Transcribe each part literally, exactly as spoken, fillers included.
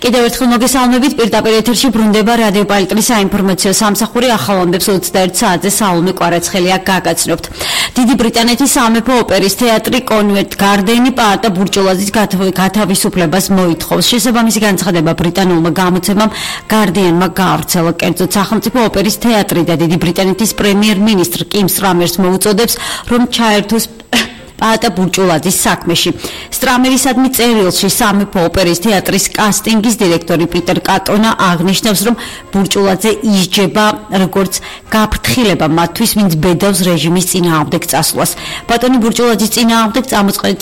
კიდევ ერთხელ მოგესალმებით, პირდაპირ ეთერში ბრუნდება რადიო პალიტრის საინფორმაციო სამსახური ახალ ამბებს ოცდაერთ საათზე საულმე კვარაცხელია გაგაცნობთ. დიდი ბრიტანეთის სამეფო ოპერის თეატრი კონვენტ გარდენი პაატა ბურჭულაძის გათავისუფლებას მოითხოვს. შესაბამისი განცხადება ბრიტანულმა გამოცემამ გარდიანმა გაავრცელა. კერძოდ სახელმწიფო ოპერის თეატრი და დიდი ბრიტანეთის პრემიერ-მინისტრ კიმ სტრამერს მოუწოდებს, რომ ჩაერთოს პაატა ბურჭულაძის საქმეში. სტრამერისადმი წერილში სამეფო ოპერის თეატრის კასტინგის დირექტორი პიტერ კატონა აღნიშნავს, რომ ბურჭულაძე ისჯება როგორც გაფრთხილება მათთვის, ვინც ბედავს რეჟიმის წინააღმდეგ წასვლას. ბატონი ბურჭულაძის წინააღმდეგ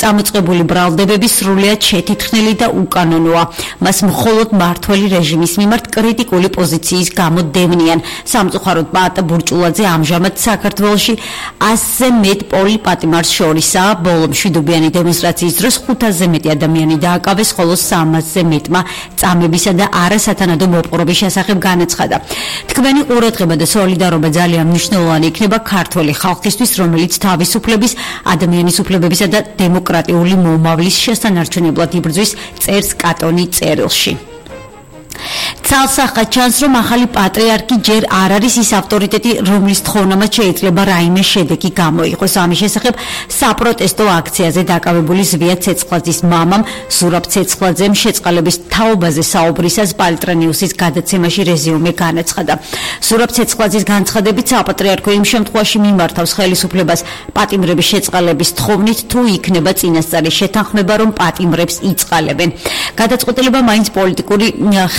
წამოწყებული ბრალდებები სრულიად შეთითხნილი და უკანონოა. მას მხოლოდ მმართველი რეჟიმის მიმართ კრიტიკული პოზიციის გამო დევნიან. სამწუხაროდ პაატა ბურჭულაძე ამჟამად საქართველოში ასზე მეტ პოლიპატიმარს შორისაა. ბოლო მშვიდობიანი დემონსტრაციის დროს ხუთასზე მეტი ადამიანი დააკავეს, ხოლო სამასზე მეტმა წამებისა და არასათანადო მოპყრობის შესახებ განაცხადა. თქვენი ყურადღება და სოლიდარობა ძალიან მნიშვნელოვანი იქნება ქართველი ხალხისთვის, რომელიც თავისუფლების, ადამიანის უფლებებისა და დემოკრატიული მომავლის შესანარჩუნებლად იბრძვის, წერს კატონი წერილში. ცალსახად ჩანს, რომ ახალი პატრიარქი ჯერ არ არის ის ავტორიტეტი, რომლის თხოვნამაც შეიძლება რაიმე შედეგი გამოიღოს. ამის შესახებ საპროტესტო აქციაზე დაკავებული ზვია ცეცხლაძის მამამ ზურაბ ცეცხლაძემ შეწყალების თაობაზე საუბრისას პალტრა ნიუსის გადაცემაში რეზიუმე განაცხადა. ზურაბ ცეცხლაძის განცხადებით, საპატრიარქო იმ შემთხვევაში მიმართავს ხელისუფლებას პატიმრების შეწყალების თხოვნით, თუ იქნება წინასწარი შეთანხმება, რომ პატიმრებს იწყალებენ. გადაწყვეტილება მაინც პოლიტიკური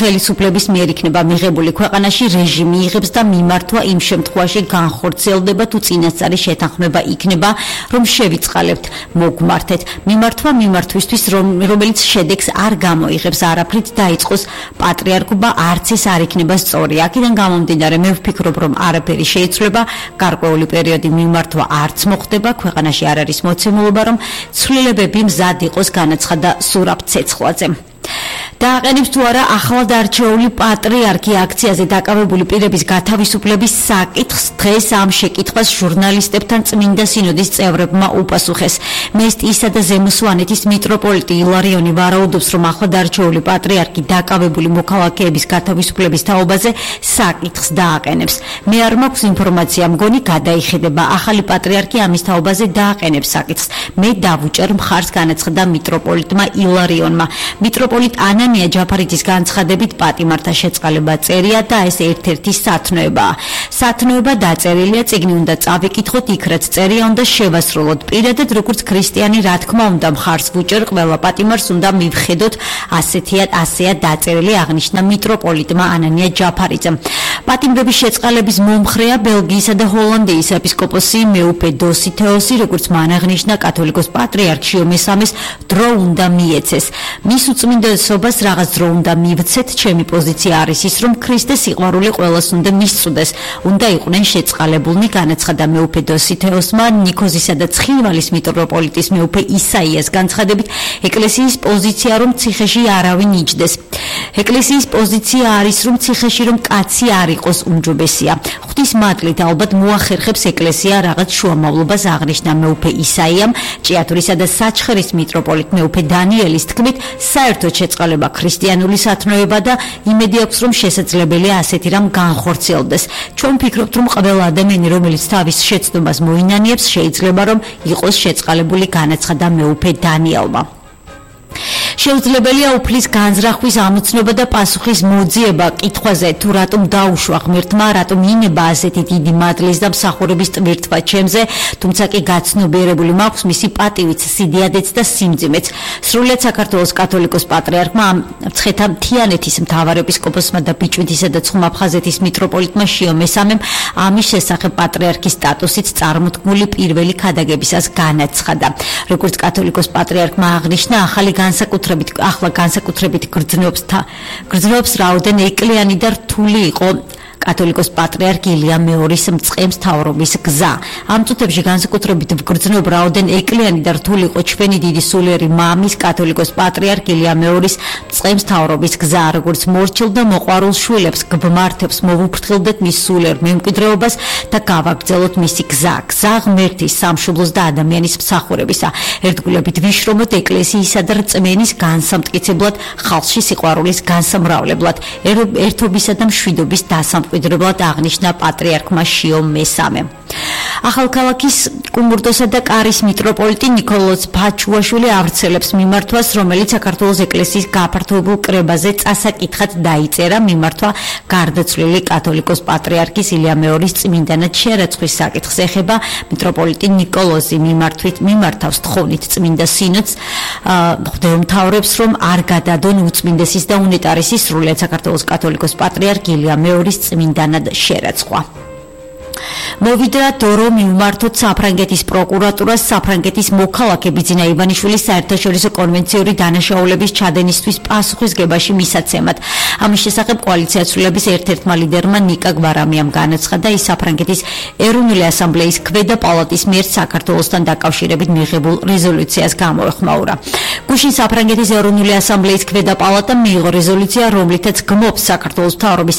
ხელისუფლების მიერ იქნება მიღებული. ქვეყანაში რეჟიმი იღებს და მიმართვა იმ შემთხვევაში განხორციელდება, თუ წინასწარი შეთანხმება იქნება, რომ შევიწყალებთ, მოგმართეთ. მიმართვა მიმართვისთვის, რომელიც შედეგს არ გამოიღებს, არაფრით დაიწყოს პატრიარქობა, არც ეს არ იქნება სწორი. აქედან გამომდინარე, მე ვფიქრობ, რომ არაფერი შეიცვლება, გარკვეული პერიოდი მიმართვა არც მოხდება, ქვეყანაში არ არის მოცემულობა, რომ ცვლილებები მზად იყოს, განაცხადა ზურაბ ცეცხლაძემ. დააყენებს თუ არა ახლად არჩეული პატრიარქი აქციაზე დაკავებული პირების გათავისუფლების საკითხს. დღეს ამ შეკითხვას ჟურნალისტებთან წმინდა სინოდის წევრებმა უპასუხეს. მესტიისა და ზემო სვანეთის მიტროპოლიტი ილარიონი ვარაუდობს, რომ ახლად არჩეული პატრიარქი დაკავებული მოქალაქეების გათავისუფლების თაობაზე საკითხს დააყენებს. მე არ მაქვს ინფორმაცია, მგონი გადაიხედება. ახალი პატრიარქი ამის თაობაზე დააყენებს საკითხს. მე დავუჭერ მხარს, განაცხადა მიტროპოლიტმა ილარიონმა. მიტროპოლიტ ანანია ჯაფარიძის განცხადებით, პატიმართა შეწყალება წერია და ეს ერთ-ერთი სათნოებაა. სათნოება დაწერილია, წიგნი უნდა წავიკითხოთ, იქ რაც წერია უნდა შევასრულოთ. პირადად როგორც ქრისტიანი, რა თქმა უნდა, მხარს ვუჭერ, ყველა პატიმარს უნდა მივხედოთ, ასეთია ასეა დაწერილი, აღნიშნა მიტროპოლიტმა ანანია ჯაფარიძემ. პატიმრების შეწყალების მომხრეა ბელგიისა და ჰოლანდიის ეპისკოპოსი მეუფე დოსითეოსი, როგორც მან აღნიშნა, კათოლიკოს პატრიარქ შიო მესამეს დრო უნდა მიეცეს. მის უწმინდესობას რაღაც დრო უნდა მივცეთ, ჩემი პოზიცია არის ის, რომ ქრისტეს სიყვარული ყველას უნდა მისწვდეს, უნდა იყვნენ შეწყალებულნი, განაცხადა მეუფე დოსითეოსმა. ნიქოზისა და ცხინვალის მიტროპოლიტის მეუფე ისაიას განცხადებით, ეკლესიის პოზიცია, რომ ციხეში არავინ იჯდეს. ეკლესიის პოზიცია არის, რომ ციხეში რომ კაცი არ იყოს უმჯობესია. ღვთის მადლით ალბათ მოახერხებს ეკლესია რაღაც შუამავლობას, აღნიშნა მეუფე ისაიამ. ჭიათურისა და საჩხერის მიტროპოლიტ მეუფე დანიელის თქმით, საერთოდ შეწყალება ქრისტიანული სათნოება და იმედი აქვს, რომ შესაძლებელია ასეთი რამ განხორციელდეს. ჩვენ ვფიქრობთ, რომ ყველა ადამიანი, რომელიც თავის შეცდომას მოინანიებს, შეიძლება რომ იყოს შეწყალებული, განაცხადა მეუფე დანიელმა. შეუძლებელია უფლის განზრახვის ამოცნობა და პასუხის მოძიება კითხვაზე, თუ რატომ დაუშვა ღმერთმა, რატომ ინება ასეთი დიდი მადლის და მსახურების ტვირთვა ჩემზე, თუმცა კი გაცნობიერებული მაქვს მისი პატივიც, სიდიადეც და სიმძიმეც. სრულიად საქართველოს კათოლიკოს პატრიარქმა, მცხეთა მთიანეთის მთავარეპისკოპოსმა და ბიჭვინთისა და ცხუმაფხაზეთის მიტროპოლიტმა შიო მესამემ ამის შესახებ პატრიარქის სტატუსით წარმოთქმული პირველი ქადაგებისას განაცხადა. როგორც კათოლიკოს პატრიარქმა აღნიშნა, ახალი განსაკუთრებით ახლა განსაკუთრებით გრძნობს გრძნობს რაოდენ ეკლიანი და რთული იყო კათოლიკოს პატრიარქ ილია მეორის მწყემს მთავრობის გზა. ამ წუთებში განსაკუთრებით ვგრძნობ რაოდენ ეკლიანი და რთული იყო ჩვენი დიდი სულიერი მამის კათოლიკოს პატრიარქ ილია მეორის მწყემს მთავრობის გზა, როგორც მორჩილ და მოყვარულ შვილებს გმართებს მოვუფრთხილდეთ მის სულიერ მემკვიდრეობას და გავაგრძელოთ მისი გზა, გზა ღმერთის, სამშობლოს და ადამიანის მსახურებისა. ერთგულებით ვიშრომოთ ეკლესიისა და რწმენის განსამტკიცებლად, ხალხში სიყვარულის განსამრავლებლად, ერთობისა და მშვიდობის დასამკვიდრებლად აღნიშნა პატრიარქმა შიო მესამემ. ახალქალაქის კუმურდოსა და კარის მიტროპოლიტი ნიკოლოზ ფაჩუაშვილი ავრცელებს მიმართვას, რომელიც საქართველოს ეკლესიის გაფართოებულ კრებაზე წასაკითხად დაიწერა. მიმართვა გარდაცვლილი კათოლიკოს პატრიარქის ილია მეორის წმინდანად შერაცხვის საკითხს ეხება. მიტროპოლიტი ნიკოლოზი მიმართვით მიმართავს თხოვნით წმინდა სინოდს, მღვდელმთავრებს, რომ არ გადადონ უწმინდესის და უნეტარესის სრულიად საქართველოს კათოლიკოს პატრიარქ ილია მეორის წმინდანად შერაცხვა. მოვიდა დრო მიმართოთ საფრანგეთის პროკურატურას საფრანგეთის მოქალაქე ბიძინა ივანიშვილის საერთაშორისო კონვენციური დანაშაულების ჩადენისთვის პასუხისგებაში მისაცემად. ამის შესახებ კოალიციას ცვლილების ერთ-ერთმა ლიდერმა ნიკა გვარამიამ განაცხადა, ის საფრანგეთის ეროვნული ასამბლეის ქვედა პალატის მიერ საქართველოსთან დაკავშირებით მიღებულ რეზოლუციას გამოეხმაურა. გუშინ საფრანგეთის ეროვნული ასამბლეის ქვედა პალატამ მიიღო რეზოლუცია, რომლითაც გმობს საქართველოს მთავრობის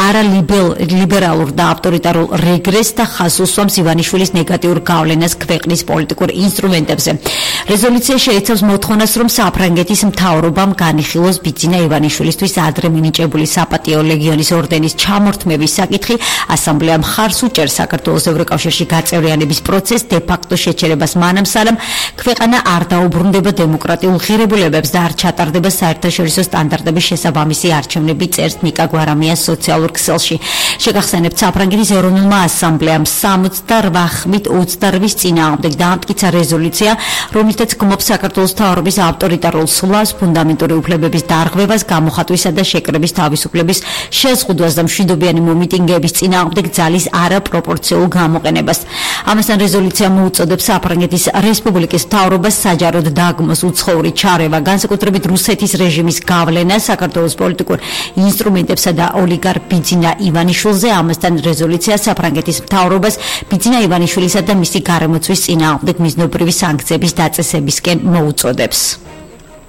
არალიბერალურ და ავტორიტარულ რეგრესს და ხაზს უსვამს ივანიშვილის ნეგატიურ გავლენას ქვეყნის პოლიტიკურ ინსტრუმენტებზე. რეზოლუცია შეიცავს მოთხოვნას, რომ საფრანგეთის მთავრობამ განიხილოს ბიძინა ივანიშვილისთვის ადრე მინიჭებული საპატიო ლეგიონის ორდენის ჩამორთმევის საკითხი. ასამბლეამ მხარს უჭერს საქართველოს ევროკავშირში გაწევრიანების პროცესს დე-ფაქტო შეჩერებას მანამ სანამ ქვეყანა არ დაუბრუნდება დემოკრატიულ ღირებულებებს და არ ჩატარდება საერთაშორისო სტანდარტების შესაბამისი არჩევნები, წერს ნიკა გვარამია სოციალურ ქსელში. შეგახსენებთ, საფრანგეთის ეროვნულმა ასამბლეამ სამოცდაოთხ ხმით ოცდაოთხის წინააღმდეგ დაამტკიცა რეზოლუცია, რომლითაც გმობს საქართველოს მთავრობის ავტორიტარულ სვლას, ფუნდამენტური უფლებების დარღვევას, გამოხატვისა და შეკრების თავისუფლების შეზღუდვას და მშვიდობიანი მომიტინგეების წინააღმდეგ ძალის არაპროპორციულ გამოყენებას. ამასთან რეზოლუცია მოუწოდებს საფრანგეთის რესპუბლიკის მთავრობას საჯაროდ დაგმოს უცხოური ჩარევა, განსაკუთრებით რუსეთის რეჟიმის გავლენა საქართველოს პოლიტიკურ ინსტრუმენტებსა და ოლიგარქ ბიძინა ივანიშვილზე. ამასთან რეზოლუცია საფრანგეთის მთავრობას ბიძინა ივანიშვილისა და მისი გარემოცვის წინააღმდეგ მიზნობრივი სანქციების დაწესებისკენ მოუწოდებს.